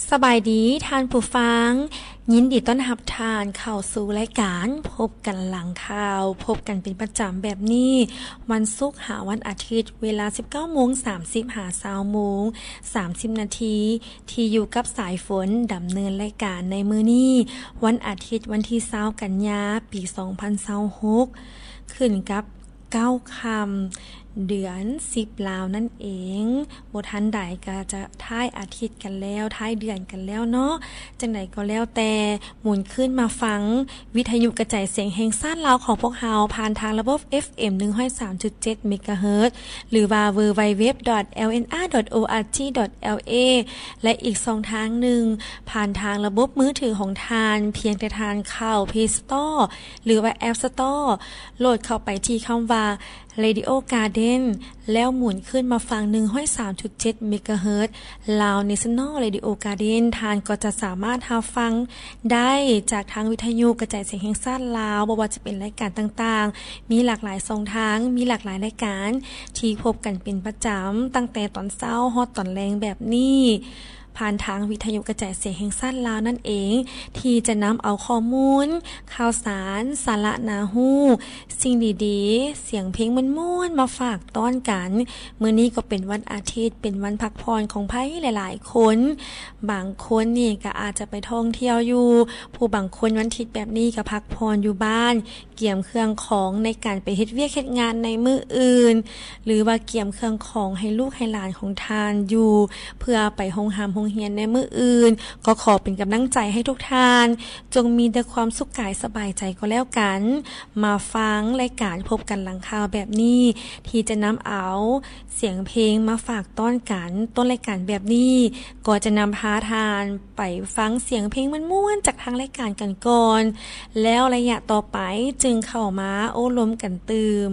ສະບາຍດີທ່ານຜູ້ຟັງ, ຍິນດີຕ້ອນຮັບທ່ານເຂົ້າສູ່ລາຍການພົບກັນຫຼັງຂ່າວ, ພົບກັນເປັນປະຈຳແບບນີ້ ວັນສຸກຫາວັນອາທິດ ເວລາສິບເກົ້າໂມງສາມສິບ ຫາ ຊາວໂມງສາມສິບນາທີ ທີ່ຢູ່ກັບສາຍຝົນດຳເນີນລາຍການໃນມື້ນີ້ ວັນອາທິດ ວັນທີຊາວ ກັນຍາ ປີສອງພັນຊາວຫົກ ຂຶ້ນກັບ ເກົ້າຄ່ຳ ເດືອນສິບລາວນັ້ນເອງ. ບໍ່ທັນໃດກໍຈະທ້າຍອາທິດກັນແລ້ວ, ທ້າຍເດືອນກັນແລ້ວເນາະ. ຈັ່ງໃດກໍແລ້ວແຕ່, ໝູນຄືນມາຟັງວິທະຍຸກະຈາຍສຽງແຫ່ງຊາດລາວຂອງພວກເຮົາ ຜ່ານທາງລະບົບ ເອັຟເອັມ ໜຶ່ງຮ້ອຍສາມຈຸດເຈັດ ເມກາເຮີດ ຫຼືວ່າ ดัບເບິນຢູດັບເບິນຢູດັບເບິນຢູ ດອດ ແອລເອັນອາ ດອດ ໂອອາຈີ ດອດ ແອລເອ ແລະ ອີກຊ່ອງທາງໜຶ່ງ ຜ່ານທາງລະບົບມືຖືຂອງທ່ານ, ພຽງແຕ່ທ່ານເຂົ້າ ເພລສະເຕີ ຫຼືວ່າ ແອັບສະເຕີ ໂຫຼດເຂົ້າໄປທີ່ຄຳວ່າ ເຣດິໂອກາເດັນ ແລ້ວໝູນຄືນມາຟັງ ໜຶ່ງຮ້ອຍສາມຈຸດເຈັດ ເມກາເຮີດ ລາວເນຊັນແນລເຣດິໂອກາເດັນ. ທ່ານກໍຈະສາມາດຮັບຟັງໄດ້ຈາກທາງວິທະຍຸກະຈາຍສຽງແຫ່ງຊາດລາວ, ບໍ່ວ່າຈະເປັນລາຍການຕ່າງໆ, ມີຫຼາກຫຼາຍຊ່ອງທາງ, ມີຫຼາກຫຼາຍລາຍການທີ່ພົບກັນເປັນປະຈຳ, ຕັ້ງແຕ່ຕອນເຊົ້າຮອດຕອນແລງແບບນີ້. ຜ່ານທາງວິທະຍຸກະຈາຍສຽງແຫ່ງຊາດລາວນັ້ນເອງ ທີ່ຈະນຳເອົາຂໍ້ມູນ, ຂ່າວສານ, ສາລະໜ້າຮູ້, ສິ່ງດີໆ, ສຽງເພງມ່ວນໆ ມາຝາກຕ້ອນກັນ. ມື້ນີ້ກໍເປັນວັນອາທິດ, ເປັນວັນພັກຜ່ອນຂອງໃຜຫຼາຍໆຄົນ. ບາງຄົນນີ້ກໍອາດຈະໄປທ່ອງທ່ຽວຢູ່, ຜູ້ບາງຄົນວັນທິດແບບນີ້ກໍພັກຜ່ອນຢູ່ບ້ານ. ກຽມເຄື່ອງຂອງໃນການໄປເຮັດວຽກເຮັດງານໃນມື້ອື່ນ ຫຼືວ່າກຽມເຄື່ອງຂອງໃຫ້ລູກໃຫ້ຫຼານຂອງທ່ານຢູ່ ເພື່ອໄປໂຮງຮ່ຳໂຮງຮຽນໃນມື້ອື່ນ. ກໍຂໍເປັນກຳລັງໃຈໃຫ້ທຸກທ່ານ ຈົ່ງມີແຕ່ຄວາມສຸກກາຍສະບາຍໃຈກໍແລ້ວກັນ. ມາຟັງລາຍການພົບກັນຫຼັງຂ່າວແບບນີ້ ທີ່ຈະນຳເອົາ ສຽງເພງມາຝາກຕ້ອນກັນ. ຕົ້ນລາຍການແບບນີ້ ກໍຈະນຳພາທ່ານໄປຟັງສຽງເພງມ່ວນໆ ຈາກທາງລາຍການກັນກ່ອນ, ແລ້ວໄລຍະຕໍ່ໄປຈຶ່ງເຂົ້າມາໂອ້ລົມກັນຕື່ມ.